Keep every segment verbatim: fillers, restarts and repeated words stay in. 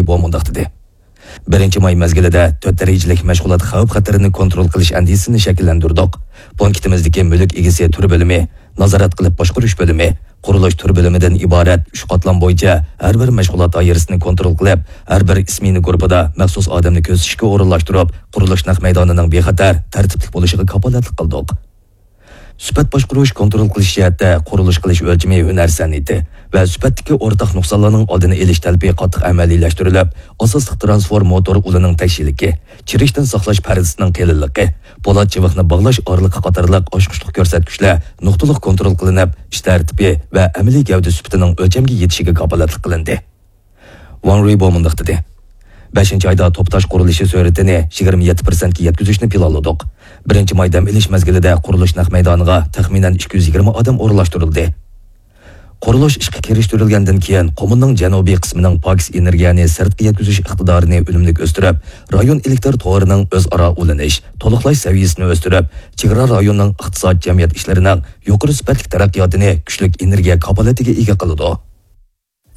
بو مۇنداق دېدى: بىرىنچى ماي مەزگىلىدە تۆت دەرىجىلىك مەشغۇلات خەۋپ-خەتىرىنى كونترول قىلىش ئەندىزىسىنى شەكىللەندۈردۇق. پونكىتىمىزدىكى مۈلۈك ئىگىسى تۈر بۆلۈمى، نازارەت قىلىپ باشقۇرۇش بۆلۈمى، قۇرۇلۇش تۈر بۆلۈمىدىن ئىبارەت ئۈچ قاتلام بويىچە ھەر بىر مەشغۇلات دائىرىسىنى كونترول قىلىپ، ھەر بىر ئىسمېنا گۇرۇپپىدا مەخسۇس ئادەمنى كۆزىتىشكە ئورۇنلاشتۇرۇپ، قۇرۇلۇش نەق مەيدانىنىڭ بىخەتەر، تەرتىپلىك بولۇشىغا كاپالەتلىك قىلدۇق. سۈپەت باشقۇرۇش، كونترول قىلىش جەھەتتە قۇرۇلۇش قىلىش ئۆلچىمى ھۈنەر سەنئىتى ۋە سۈپەتتىكى ئورتاق نۇقسانلارنىڭ ئالدىنى ئېلىش تەلىپى قاتتىق ئەمەلىيلەشتۈرۈلۈپ، ئاساسلىق ترانسفورماتور ئۇلىنىڭ تەكشىلىكى، چىرىشتىن ساقلاش پەردىسىنىڭ قېلىنلىقى، پولات چىۋىقنى باغلاش ئارىلىقى قاتارلىق ئاچقۇچلۇق كۆرسەتكۈچلەر نۇقتىلىق كونترول قىلىنىپ، ئىش تەرتىپى ۋە ئەمەلىي گەۋدە سۈپىتىنىڭ ئۆلچەمگە يېتىشىگە كاپالەتلىك قىلىندى. ۋاڭ رۇيبو مۇنداق دېدى: بەشىنچى ئايدا توپا تاش قۇرۇلۇشى سۈرئىتىنى يىگىرمە يەتتە پىرسەنتكە يەتكۈزۈشنى پىلانلىدۇق. بىرىنچى ماي دەم ئېلىش مەزگىلىدە قۇرۇلۇش نەق مەيدانىغا تەخمىنەن ئىككى يۈز يىگىرمە ئادەم ئورۇنلاشتۇرۇلدى. قۇرۇلۇش ئىشقا كىرىشتۈرۈلگەندىن كېيىن، قۇمۇلنىڭ جەنۇبىي قىسمىنىڭ پاكىز ئېنېرگىيەنى سىرتقا يەتكۈزۈش ئىقتىدارىنى ئۈنۈملۈك ئۆستۈرۈپ، رايون ئېلېكتىر تورىنىڭ ئۆزئارا ئۇلىنىش، تولۇقلاش سەۋىيەسىنى ئۆستۈرۈپ، چېگرا رايونىنىڭ ئىقتىساد، جەمئىيەت ئىشلىرىنىڭ يۇقىرى سۈپەتلىك تەرەققىياتىنى كۈچلۈك ئېنېرگىيە كاپالىتىگە ئىگە قىلىدۇ.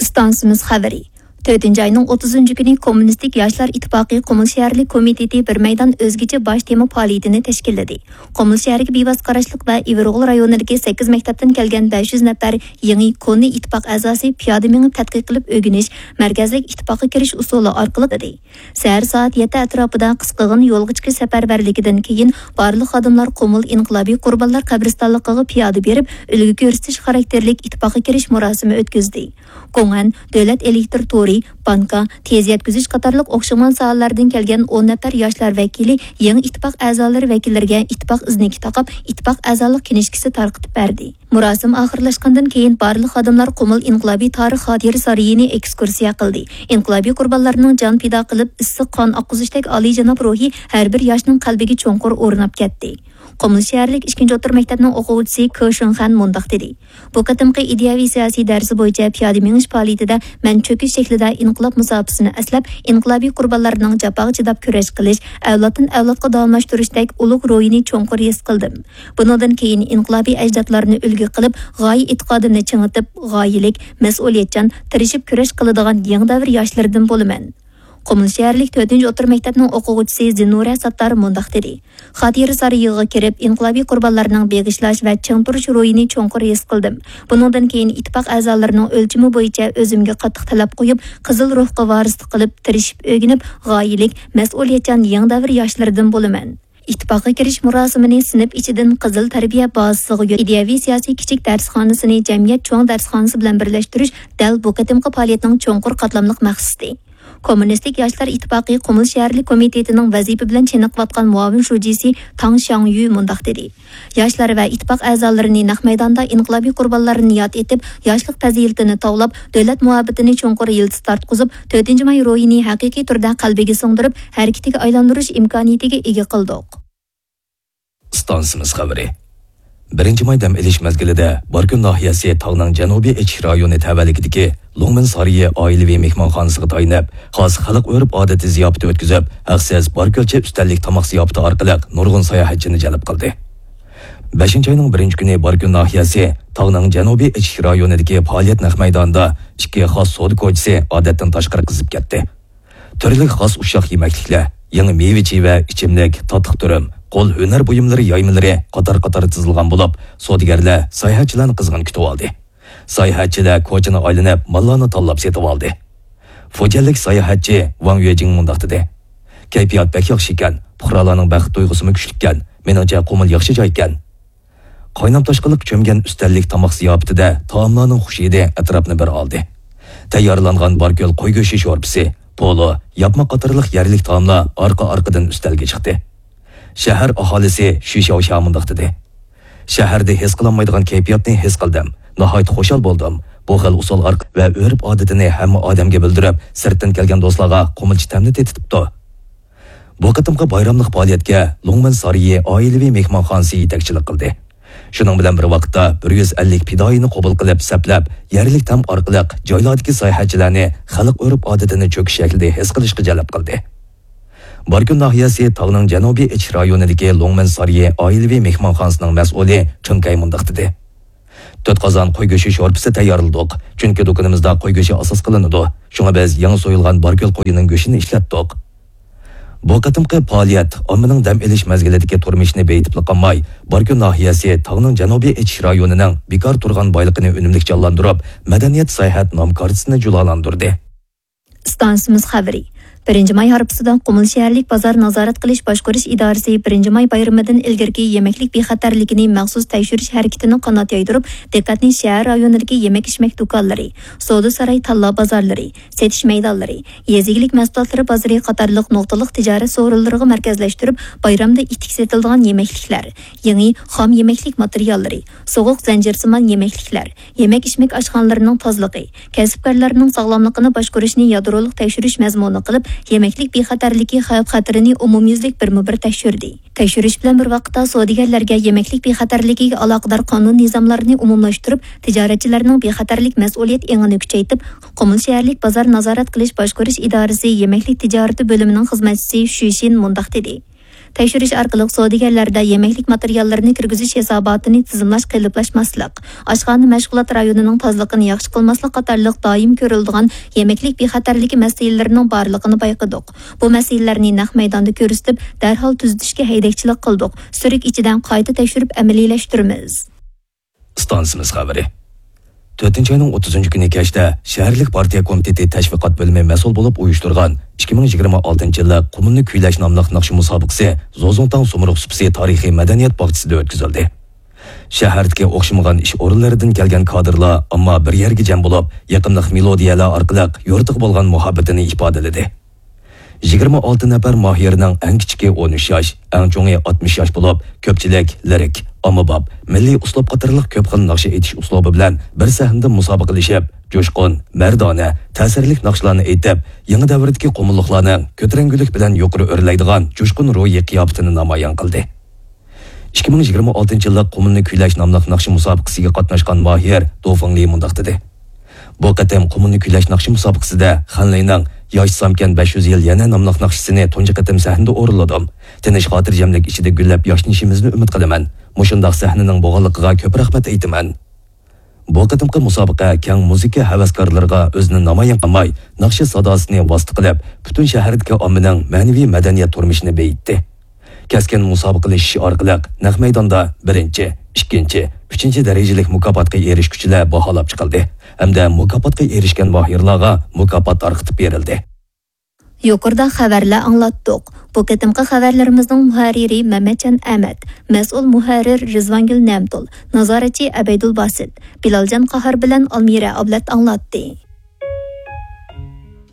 ئىستانسىمىز خەۋىرى. تۆتىنچى ئاينىڭ ئوتتۇزىنچى كۈنى كوممۇنىستىك ياشلار ئىتتىپاقى قۇمۇل شەھەرلىك كومىتېتى بىر مەيدان ئۆزگىچە باش تېما پائالىيىتىنى تەشكىللىدى. قۇمۇل شەھىرىگە بىۋاسىتە قاراشلىق ۋە ئىۋىرغول رايونىدىكى سەككىز مەكتەپتىن كەلگەن بەش يۈز نەپەر يېڭى، كونا ئىتتىپاق ئەزاسى پىيادە مېڭىپ تەتقىق قىلىپ ئۆگىنىش، مەركەزلىك ئىتتىپاققا كىرىش ئۇسۇلى ئارقىلىق دېدى. سەھەر سائەت يەتتە ئەتراپىدا قىسقىغىنە يولغا چىقىش سەپەرۋەرلىكىدىن كېيىن، بارلىق خادىملار قۇمۇل ئىنقىلابىي قۇربانلار قەبرىستانلىقىغا پىيادە بېرىپ، ئۈلگە كۆرسىتىش خاراكتېرلىك ئىتتىپاققا كىرىش مۇراسىمى ئۆتكۈزدى. گوڭئەن، دۆلەت ئېلېكتر تورى، بانكا، تېز يەتكۈزۈش قاتارلىق ئوخشىمىغان ساھەلەردىن كەلگەن ئون نەپەر ياشلار ۋەكىلى يېڭى ئىتتىپاق ئەزالىرى ۋەكىللىرىگە ئىتتىپاق ئىزنىكى تاقاپ، ئىتتىپاق ئەزالىق كىنىشكىسى تارقىتىپ بەردى. مۇراسىم ئاخىرلاشقاندىن كېيىن، بارلىق خادىملار قۇمۇل ئىنقىلابىي تارىخ خاتىرە سارىيىنى ئېكسكۇرسىيە قىلدى. ئىنقىلابىي قۇربانلارنىڭ جان پىدا قىلىپ، ئىسسىق قان ئاققۇزۇشتەك ئالىيجاناب روھى ھەر بىر ياشنىڭ قەلبىگە چوڭقۇر ئورناپ كەتتى. قۇمۇل شەھەرلىك ئىككىنچى ئوتتۇرا مەكتەپنىڭ ئوقۇغۇچىسى كې شېڭخەن مۇنداق دېدى: بۇ قېتىمقى ئىدىيەۋى سىياسىي دەرسى بويىچە پىيادە مېڭىش پائالىيىتىدە مەن چۆكۈش شەكلىدە ئىنقىلاب مۇساپىسىنى ئەسلەپ، ئىنقىلابىي قۇربانلارنىڭ جاپاغا چىداپ كۈرەش قىلىش، ئەۋلادتىن ئەۋلادقا داۋاملاشتۇرۇشتەك ئۇلۇغ روھىنى چوڭقۇر ھېس قىلدىم. بۇنىڭدىن كېيىن ئىنقىلابىي ئەجدادلارنى ئۈلگە قىلىپ، غايە ئېتىقادىمنى چىڭىتىپ، غايىلىك، مەسئۇلىيەتچان، تىرىشىپ كۈرەش قىلىدىغان يېڭى دەۋر ياشلىرىدىن بولىمەن. قۇمۇل شەھەرلىك تۆتىنچى ئوتتۇرا مەكتەپنىڭ ئوقۇغۇچىسى زىنۇرە ساتتار مۇنداق دېدى: خاتىرە سارىيىغا كىرىپ، ئىنقىلابىي قۇربانلارنىڭ بېغىشلاش ۋە چىڭ تۇرۇش روھىنى چوڭقۇر ھېس قىلدىم. بۇنىڭدىن كېيىن ئىتتىپاق ئەزالىرىنىڭ ئۆلچىمى بويىچە ئۆزۈمگە قاتتىق تەلەپ قويۇپ، قىزىل روھقا ۋارىسلىق قىلىپ، تىرىشىپ ئۆگىنىپ، غايىلىك، مەسئۇلىيەتچان يېڭى دەۋر ياشلىرىدىن بولىمەن. ئىتتىپاققا كىرىش مۇراسىمىنى سىنىپ ئىچىدىن قىزىل تەربىيە بازىسىغا يۆ-، ئىدىيەۋى سىياسىي كىچىك دەرسخانىسىنى جەمئىيەت چوڭ دەرسخانىسى بىلەن بىرلەشتۈرۈش دەل بۇ قېتىمقى پائالىيەتنىڭ چوڭقۇر قاتلاملىق مەقسىتى. كوممۇنىستىك ياشلار ئىتتىپاقى قۇمۇل شەھەرلىك كومىتېتىنىڭ ۋەزىپە بىلەن چېنىقىۋاتقان مۇئاۋىن شۇجىسى تاڭ شياڭيۈ مۇنداق دېدى: ياشلار ۋە ئىتتىپاق ئەزالىرىنى نەق مەيداندا ئىنقىلابىي قۇربانلارنى ياد ئېتىپ، ياشلىق پەزىلىتىنى تاۋلاپ، دۆلەت مۇھەببىتىنى چوڭقۇر يىلتىز تارتقۇزۇپ، تۆتىنچى ماي روھىنى ھەقىقىي تۈردە قەلبىگە سىڭدۈرۈپ، ھەرىكىتىگە ئايلاندۇرۇش ئىمكانىيىتىگە ئىگە قىلدۇق. ئىستانسىمىز خەۋىرى. بىرىنچى ماي دەم ئېلىش مەزگىلىدە باركۆل ناھىيەسى تاغنىڭ جەنۇبىي ئېچىش رايونى تەۋەلىكىدىكى لوڭمىن سارىيى ئائىلىۋى مېھمانخانىسىغا تايىنىپ، خاس خەلق ئۆرپ-ئادىتى زىياپىتى ئۆتكۈزۈپ، ھەقسىز باركۆلچە ئۈستەللىك تاماق زىياپىتى ئارقىلىق نۇرغۇن ساياھەتچىنى جەلپ قىلدى. بەشىنچى ئاينىڭ بىرىنچى كۈنى باركۆل ناھىيەسى تاغنىڭ جەنۇبىي ئېچىش رايونىدىكى پائالىيەت نەق مەيدانىدا ئىككى خاس سودا كوچىسى ئادەتتىن تاشقىرى قىزىپ كەتتى. تۈرلۈك خاس ئۇششاق يېمەكلىكلەر، يېڭى مېۋە-چېۋە، ئىچىملىك، تاتلىق تۈرۈم، قول ھۈنەر بۇيۇملىرى يايمىلىرى قاتار-قاتار تىزىلغان بولۇپ، سودىگەرلەر ساياھەتچىلەرنى قىزغىن كۈتۈۋالدى. ساياھەتچىلەر كوچىنى ئايلىنىپ، ماللارنى تاللاپ سېتىۋالدى. فۇجيەنلىك ساياھەتچى ۋاڭ يۈەجىڭ مۇنداق دېدى: كەيپىيات بەك ياخشى ئىكەن، پۇقرالارنىڭ بەخت تۇيغۇسىمۇ كۈچلۈككەن، مېنىڭچە قۇمۇل ياخشى جاي ئىكەن. قاينام تاشقىنلىق چۆمگەن ئۈستەللىك تاماق زىياپىتىدە تائاملارنىڭ خۇش ھىدى ئەتراپنى بىر ئالدى. تەييارلانغان باركۆل قوي گۆشى شورپىسى، پولۇ، ياپما قاتارلىق يەرلىك تائاملار ئارقا-ئارقىدىن ئۈستەلگە چىقتى. شەھەر ئاھالىسى شۈ شياۋشيا مۇنداق دېدى: شەھەردە ھېس قىلالمايدىغان كەيپىياتنى ھېس قىلدىم. ناھايىتى خۇشال بولدۇم. بۇ خىل ئۇسۇل ئارق-، ۋە ئۆرپ-ئادىتىنى ھەممە ئادەمگە بىلدۈرۈپ، سىرتتىن كەلگەن دوستلارغا قۇمۇلچە تەمنى تېتىتىپتۇ. بۇ قېتىمقى بايراملىق پائالىيەتكە لوڭمەن سارىيى ئائىلىۋى مېھمانخانىسى يېتەكچىلىك قىلدى. شۇنىڭ بىلەن بىر ۋاقىتتا، بىر يۈز ئەللىك پىدائىينى قوبۇل قىلىپ، سەپلەپ، يەرلىك تام ئارقىلىق جايلاردىكى ساياھەتچىلەرنى خەلق ئۆرپ-ئادىتىنى چۆكۈش شەكلىدە ھېس قىلىشقا جەلپ قىلدى. باركۆل ناھىيەسى تاغنىڭ جەنۇبىي ئېچىش رايونىدىكى لوڭمەن سارىيى ئائىلىۋى مېھمانخانىسىنىڭ مەسئۇلى چېڭ كەي مۇنداق دېدى: تۆت قازان قوي گۆشى شورپىسى تەييارلىدۇق، چۈنكى دۇكىنىمىزدا قوي گۆشى ئاساس قىلىنىدۇ. شۇڭا بىز يېڭى سويۇلغان باركۆل قويىنىڭ گۆشىنى ئىشلەتتۇق. بۇ قېتىمقى پائالىيەت ئاممىنىڭ دەم ئېلىش مەزگىلىدىكى تۇرمۇشىنى بېيىتىپلا قالماي، باركۆل ناھىيەسى تاغنىڭ جەنۇبىي ئېچىش رايونىنىڭ بىكار تۇرغان بايلىقىنى ئۈنۈملۈك جانلاندۇرۇپ، مەدەنىيەت ساياھەت نام كارتىسىنى جۇلالاندۇردى. ئىستانسىمىز خەۋىرى. بىرىنچى ماي ھارپىسىدا قۇمۇل شەھەرلىك بازار نازارەت قىلىش باشقۇرۇش ئىدارىسى بىرىنچى ماي بايرىمىدىن ئىلگىرىكى يېمەكلىك بىخەتەرلىكىنى مەخسۇس تەكشۈرۈش ھەرىكىتىنى قانات يايدۇرۇپ، دىققەتنى شەھەر رايونىدىكى يېمەك-ئىچمەك دۇكانلىرى، سودا ساراي تاللا بازارلىرى، سېتىش مەيدانلىرى، يېزا ئىگىلىك مەھسۇلاتلىرى بازىرى قاتارلىق نۇقتىلىق تىجارەت سورۇنلىرىغا مەركەزلەشتۈرۈپ، بايرامدا ئىتتىك سېتىلىدىغان يېمەكلىكلەر، يېڭى خام يېمەكلىك ماتېرىياللىرى، سوغۇق زەنجىرسىمان يېمەكلىكلەر، يېمەك-ئىچمەك ئاشخانىلىرىنىڭ تازىلىقى، كەسىپكارلارنىڭ ساغلاملىقىنى باشقۇرۇشنى يادرولۇق تەكشۈرۈش مەزمۇنى قىلىپ، يېمەكلىك بىخەتەرلىكى خەۋپ-خەتىرىنى ئومۇميۈزلۈك بىرمۇبىر تەكشۈردى. تەكشۈرۈش بىلەن بىر ۋاقىتتا، سودىگەرلەرگە يېمەكلىك بىخەتەرلىكىگە ئالاقىدار قانۇن نىزاملارنى ئومۇملاشتۇرۇپ، تىجارەتچىلەرنىڭ بىخەتەرلىك مەسئۇلىيەت ئېڭىنى كۈچەيتىپ، قۇمۇل شەھەرلىك بازار نازارەت قىلىش باشقۇرۇش ئىدارىسى يېمەكلىك تىجارىتى بۆلۈمىنىڭ خىزمەتچىسى شۈشىن مۇنداق دېدى. تەكشۈرۈش ئارقىلىق سودىگەرلەردە يېمەكلىك ماتېرىياللىرىنى كىرگۈزۈش ھېساباتىنى تىزىملاش قېلىپلاشماسلىق، ئاشخانا مەشغۇلات رايونىنىڭ تازىلىقىنى ياخشى قىلماسلىق قاتارلىق دائىم كۆرۈلىدىغان يېمەكلىك بىخەتەرلىكى مەسىلىلىرىنىڭ بارلىقىنى بايقىدۇق. بۇ مەسىلىلەرنى نەق مەيداندا كۆرسىتىپ، دەرھال تۈزىتىشكە ھەيدەكچىلىك قىلدۇق، سۈرۈك ئىچىدە قايتا تەكشۈرۈپ ئەمەلىيلەشتۈرىمىز. ئىستانسىمىز خەۋىرى. تۆتىنچى ئاينىڭ ئوتتۇزىنچى كۈنى كەچتە شەھەرلىك پارتىيە كومىتېتى تەشۋىقات بۆلۈمى مەسئۇل بولۇپ ئۇيۇشتۇرغان ئىككى مىڭ يىگىرمە ئالتىنچى يىللىق قۇمۇلنى كۈيلەش ناملىق ناخشا مۇسابىقىسى زوزۇڭتاڭ سۇمرۇغ سۇپىسى تارىخىي مەدەنىيەت باغچىسىدا ئۆتكۈزۈلدى. شەھەردىكى ئوخشىمىغان ئىش ئورۇنلىرىدىن كەلگەن كادىرلار ئامما بىر يەرگە جەم بولۇپ، يېقىملىق مېلودىيەلەر ئارقىلىق يۇرتىغا بولغان مۇھەببىتىنى ئىپادىلىدى. يىگىرمە ئالتە نەپەر ماھىرنىڭ ئەڭ كىچىكى ئون ئۈچ ياش، ئەڭ چوڭى ئاتمىش ياش بولۇپ، كۆپچىلىك لىرىك، ئاممىباب، مىللىي ئۇسلۇب قاتارلىق كۆپ خىل ناخشا ئېيتىش ئۇسلۇبى بىلەن بىر سەھنىدە مۇسابىقىلىشىپ، جۇشقۇن، مەردانە، تەسىرلىك ناخشىلارنى ئېيتىپ، يېڭى دەۋردىكى قۇمۇللۇقلارنىڭ كۆتۈرەڭگۈلۈك بىلەن يۇقىرى ئۆرلەيدىغان جۇشقۇن روھىي قىياپىتىنى نامايان قىلدى. ئىككى مىڭ يىگىرمە ئالتىنچى يىللىق قۇمۇلنى كۈيلەش ناملىق ناخشا مۇسابىقىسىگە قاتناشقان ماھىر دۇفېڭلى مۇنداق دېدى: بۇ قېتىم قۇمۇلنى كۈيلەش ناخشا مۇسابىقىسىدە خەنلەينىڭ ياشىسامكەن بەش يۈز يىل يەنە ناملىق ناخشىسىنى تۇنجى قېتىم سەھنىدە ئورۇنلىدىم. تىنچ خاتىرجەملىك ئىچىدە گۈللەپ ياشنىشىمىزنى ئۈمىد قىلىمەن. مۇشۇنداق سەھنىنىڭ بولغانلىقىغا كۆپ رەھمەت ئېيتىمەن. بۇ قېتىمقى مۇسابىقە كەڭ مۇزىكا ھەۋەسكارلىرىغا ئۆزىنى نامايان قىلماي، ناخشا ساداسىنى ۋاسىتە قىلىپ، پۈتۈن شەھەردىكى ئاممىنىڭ مەنىۋى مەدەنىيەت تۇرمۇشىنى بېيىتتى. كەسكىن مۇسابىقىلىشىش ئارقىلىق نەق مەيداندا بىرىنچى، ئىككىنچى، ئۈچىنچى دەرىجىلىك مۇكاپاتقا ئېرىشكۈچىلەر باھالاپ چىقىلدى ھەمدە مۇكاپاتقا ئېرىشكەن ماھىرلارغا مۇكاپات تارقىتىپ بېرىلدى. يۇقىرىدا خەۋەرلەر ئاڭلاتتۇق. بۇ قېتىمقى خەۋەرلىرىمىزنىڭ مۇھەررىرى مەمەتجان ئەمەت، مەسئۇل مۇھەررىر رىزۋانگۈل نەمتۇل، نازارەتچى ئەبەيدۇل باسىت، بىلالجان قاھار بىلەن ئالمىرە ئابلەت ئاڭلاتتى.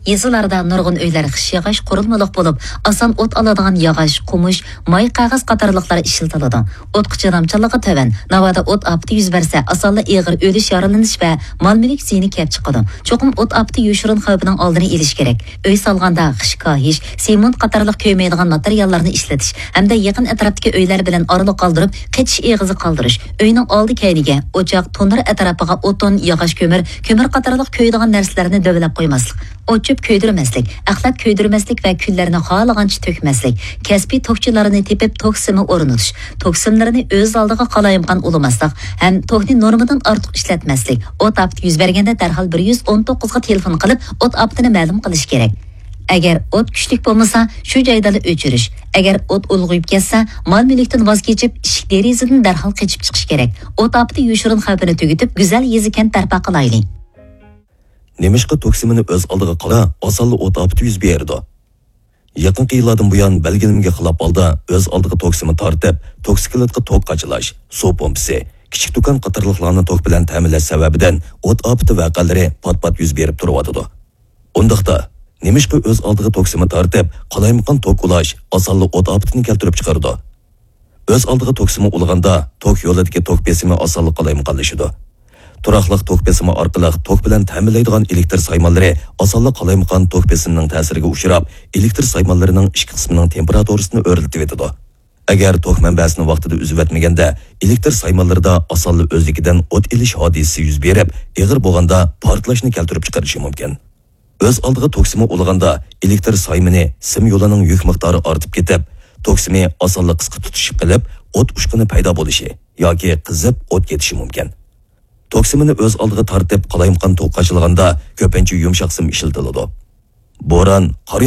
يېزىلاردا نۇرغۇن ئۆيلەر خىش ياغاچ قۇرۇلمىلىق بولۇپ، ئاسان ئوت ئالىدىغان ياغاچ، قومۇش، ماي قەغەز قاتارلىقلار ئىشلىتىلىدۇ. ئوتقا چىدامچانلىقى تۆۋەن، ناۋادا ئوت ئاپىتى يۈز بەرسە، ئاسانلا ئېغىر ئۆلۈش، يارىلىنىش ۋە مال-مۈلۈك زىيىنى كەپ چىقىدۇ. چوقۇم ئوت ئاپىتى يوشۇرۇن خەۋپىنىڭ ئالدىنى ئېلىش كېرەك. ئۆي سالغاندا خىش كاھىش، سېمونت قاتارلىق كۆيمەيدىغان ماتېرىياللارنى ئىشلىتىش ھەمدە يېقىن ئەتراپتىكى ئۆيلەر بىلەن ئارىلىق قالدۇرۇپ، قېچىش ئېغىزى قالدۇرۇش، ئۆينىڭ ئالدى كەينىگە، ئوچاق، تونۇر ئەتراپىغا ئوتۇن، ياغاچ كۆمۈر، كۆمۈر قاتارلىق كۆيىدىغان نەرسىلەرنى دۆۋىلەپ قويماسلىق، ئوت-چۆپ كۆيدۈرمەسلىك، ئەخلەت كۆيدۈرمەسلىك ۋە كۈللەرنى خالىغانچە تۆكمەسلىك، كەسپىي توكچىلارنى تېپىپ توك سىمى ئورنىتىش، توك سىملىرىنى ئۆز ئالدىغا قالايمىقان ئۇلىماسلىق ھەم توكنى نورمىدىن ئارتۇق ئىشلەتمەسلىك، ئوت ئاپىتى يۈز بەرگەندە دەرھال بىر يۈز ئون توققۇزغا تېلېفون قىلىپ، ئوت ئاپىتىنى مەلۇم قىلىش كېرەك. ئەگەر ئوت كۈچلۈك بولمىسا، شۇ جايدىلا ئۆچۈرۈش. ئەگەر ئوت ئۇلغىيىپ كەتسە، مال-مۈلۈكتىن ۋاز كېچىپ، ئىشىك-دېرىزىدىن دەرھال قېچىپ چىقىش كېرەك. ئوت ئاپىتى يوشۇرۇن خەۋپىنى تۈگىتىپ، گۈزەل يېزا-كەنت بەرپا قىلايلى. نېمىشقا توك سىمىنى ئۆز ئالدىغا قىلىپ، ئاسانلا ئوت ئاپىتى يۈز بېرىدۇ؟ يېقىنقى يىللاردىن بۇيان، بەلگىلىمىگە خىلاپ ھالدا ئۆز ئالدىغا توك سىمى تارتىپ، توكسىكلىتقا توك قاچىلاش، سۇ پومپىسى، كىچىك دۇكان قاتارلىقلارنى توك بىلەن تەمىنلەش سەۋەبىدىن ئوت ئاپىتى ۋەقەلىرى پات-پات يۈز بېرىپ تۇرۇۋاتىدۇ. ئۇنداقتا، نېمىشقا ئۆز ئالدىغا توك سىمى تارتىپ، قالايمىقان توك ئۇلاش ئاسانلا ئوت ئاپىتىنى كەلتۈرۈپ چىقىرىدۇ؟ ئۆز ئالدىغا توك سىمى ئۇلىغاندا، توك يولىدىكى توك بېسىمى ئاسانلا قالايمىقانلىشىدۇ. تۇراقلىق توك بېسىمى ئارقىلىق توك بىلەن تەمىنلەيدىغان ئېلېكتر سايمانلىرى ئاسانلا قالايمىقان توك بېسىمىنىڭ تەسىرىگە ئۇچراپ، ئېلېكتر سايمانلىرىنىڭ ئىچكى قىسمىنىڭ تېمپېراتۇرىسىنى ئۆرلىتىۋېتىدۇ. ئەگەر توك مەنبەسىنى ۋاقتىدا ئۈزۈۋەتمىگەندە، ئېلېكتر سايمانلىرىدا ئاسانلا ئۆزلۈكىدىن ئوت ئېلىش ھادىسىسى يۈز بېرىپ، ئېغىر بولغاندا پارتلاشنى كەلتۈرۈپ چىقىرىشى مۇمكىن. ئۆز ئالدىغا توك سىمى ئۇلىغاندا، ئېلېكتر سايمىنى سىم يولىنىڭ يۈك مىقدارى ئارتىپ كېتىپ، توك سىمى ئاسانلا قىسقا تۇتىشىپ قېلىپ، ئوت ئۇچقۇنى پەيدا بولۇشى ياكى قىزىپ ئوت كېتىشى مۇمكىن. توك سىمىنى ئۆز ئالدىغا تارتىپ، قالايمىقان توك قاچىلىغاندا كۆپىنچە يۇمشاق سىم ئىشلىتىلىدۇ. بوران، قار